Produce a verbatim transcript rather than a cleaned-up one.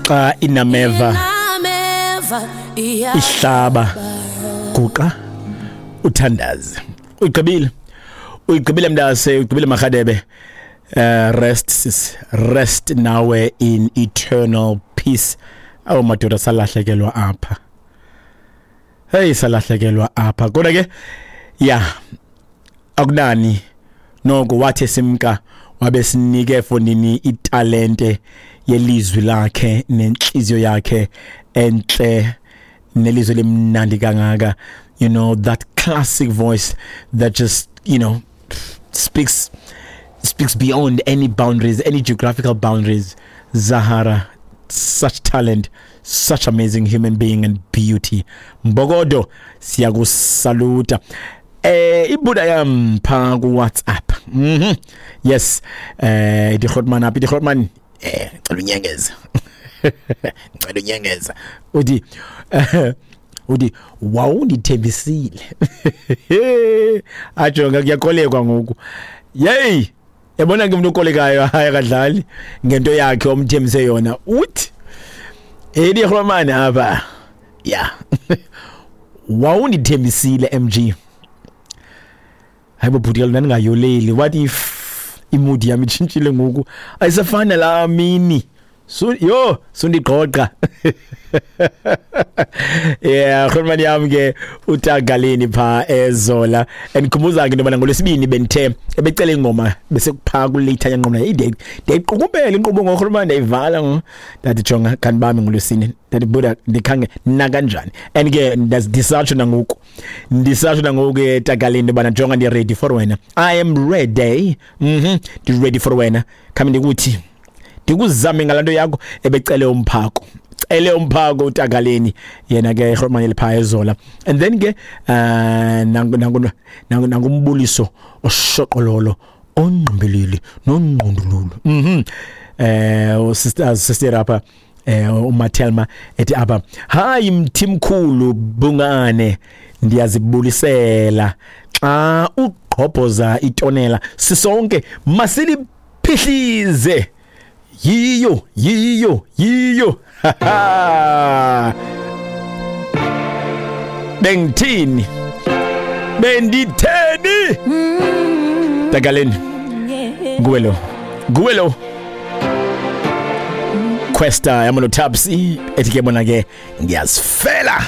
Xa inameva ihlaba, guqa uthandaze. Uyigqibile, uyigqibile mntase, uyigqibile Marhadebe. Uh, rest sis, rest nawe in eternal peace. Awu madoda, salahlekelwa apha. Hey, salahlekelwa apha. Kodwa ke ya akunani noko, wathi simka wabe sinike fonini italente yelizwi lakhe nenhliziyo yakhe enhle nelizwi lemnandi kangaka. You know, that classic voice that just, you know, speaks speaks beyond any boundaries, any geographical boundaries. Zahara, such talent, such amazing human being and beauty. Mbogodo, siyakusaluta. Eh ibuda yam pha ku WhatsApp. Mhm. Yes. Eh die Grootman apha, die Grootman eh ngicela unyengeza. Ngicela unyengeza. Uthi uthi wawundithembisile. Ajonga kuyakolekwa ngoku. Yey, yabona ke umuntu okolekayo hayi akadlali ngento yakhe omthembise yona. Uthi Eddie Grootman apha. Yeah. Wawundithembisile M G. Hayibo bhuti, ndingayoleli. What if imudi yami itshintshile ngoku? Ayisafana la mini. So yo, sundiqoqa. Yeah, Grootman yami ke utagaleni pha ezola. Endikhumbuza ke into yobana ngolwesibini bendithe ebecela ingoma bese kupha kulate yanqomla. Ide ndiyayiqukumbela inkqubo ngoGrootman, ndayivala. Ndathi jonga kanti bami ngolwesine. Ndathi buda ndikhange na kanjani. And ke ndisatsho nangoku. Ndisatsho nangoku ke tagaleni into yobana jonga ndi ready for wena. I am ready. Mhm, ndi ready for wena. Khami ndikuthi ndikuzame ngalanto yakho ebecele umphako. Cele umphako utagaleni yena ke Grootman elipha ezola. And then ke uh nangu nangu nangumbuliso oshoqololo ongqimbilili nongqondululu. Mhm. Eh sister sister apha eh uMathelma ethi apha, hayi mthimkhulu bungane, ndiyazibulisela xa ugqobhoza itonela sisonke masiliphihlize. Yiyo yiyo yiyo. Bengithini benditheni Tagaleni nguwe lo, nguwe lo Questa yamano Tabs ethi ke bona ke ngiyazifela.